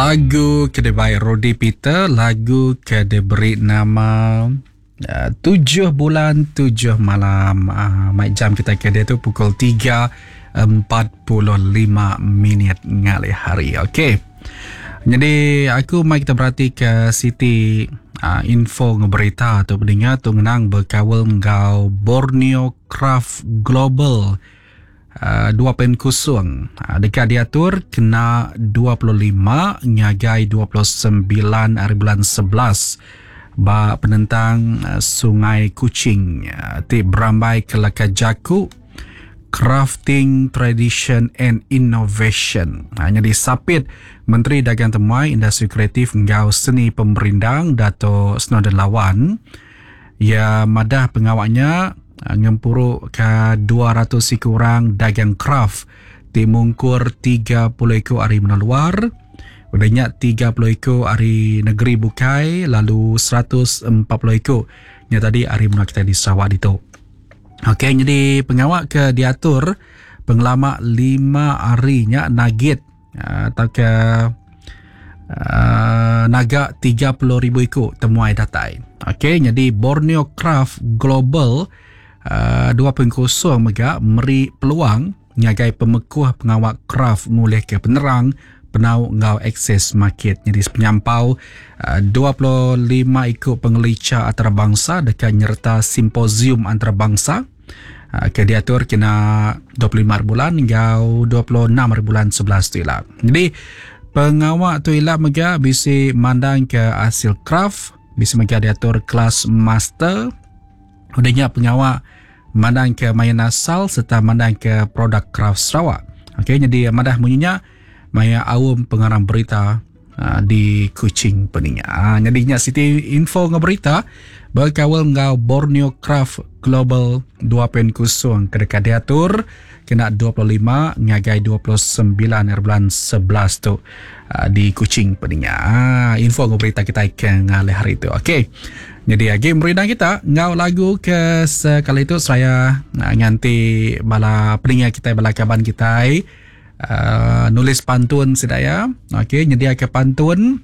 Lagu ke dibai Rody Peter, lagu ke diberi nama uh, Tujuh Bulan Tujuh Malam. Uh, mai jam kita ke dia tu pukul 3.45 minit ngalih hari. Okey. Jadi aku mai kita berati ke siti uh, info ngeberita tu peninga tu ngenang berkawal enggau Borneo Craft Global 2.0 deka diatur kena 25 ngagai 29 hari bulan 11 ba penentang Sungai Kuching ti berambai ke leka jaku Crafting Tradition and Innovation. Nyadi sapit Menteri Dagang Temuai, Industri Kreatif enggau Seni Pemerindang Dato Snowdan Lawan iya madah pengawa nya Ngempuru ka 200 iku orang dagang kraf ti mungkur 30 iku ari menua luar, udah nya 30 iku ari negeri bukai lalu 140 iku nya tadi ari menua kitai di Sarawak ditu. Okey nyadi pengawa ke diatur pengelama lima hari nya nagit tauka naga 30,000 iku temuai datai. Okey, nyadi Borneo Craft Global uh, 2.0 mega meri peluang ngagai pemekuh pengawa craft ngulihka penerang penau enggau akses market. Nyadi sepenyampau uh, 25 iku pengelicha antarabangsa deka nyereta simposium antarabangsa ke diatur kena 25 hari bulan enggau 26 hari bulan 11 tu ila. Jadi pengawa tu ila mega bisi mandang ke hasil craft, bisi mega diatur kelas master. Udah nya pengawa mandang ke main asal serta mandang ke produk craft Sarawak. Okey, jadi madah munyi nya maya aum pengarang berita di Kuching peninga. Nyadi nya siti info enggau berita bekaul enggau Borneo Craft Global 2.0 ke deka diatur kena 25 ngagai 29 hari bulan 11 tu di Kuching peninga. Info enggau berita kitai ke ngalih hari tu. Okey. Nyadi agi merindang kita enggau lagu ke sekali tu seraya nganti bala peninga kitai bala kaban kitai Uh, nulis pantun sida ya. Okey, nyediaka pantun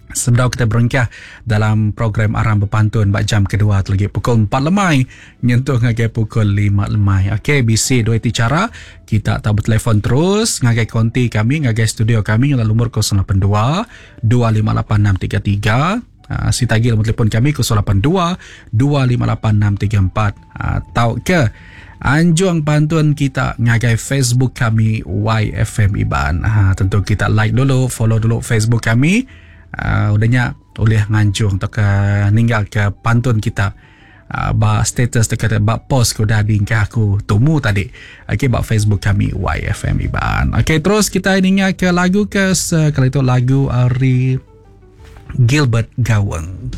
sebelum kita berengkah dalam program Aram Berpantun ba jam kedua tu lagi pukul 4 lemai nyentuh ngagai pukul 5 lemai. Okey, bisi dua iti cara kita tau bertelefon terus ngagai konti kami ngagai studio kami lalu lumur 082 258633 Uh, si tagi nombor telefon kami 082 258 634 uh, tau ke anjung pantun kita ngagai Facebook kami YFM Iban. Ha, tentu kita like dulu, follow dulu Facebook kami. Uh, udahnya boleh nganjung atau ke ninggal ke pantun kita uh, ba status dekat ba post ke udah diingkah aku tumu tadi. Okey ba Facebook kami YFM Iban. Okey terus kita ninga ke lagu ke sekali tu lagu ari Gilbert Gaweng.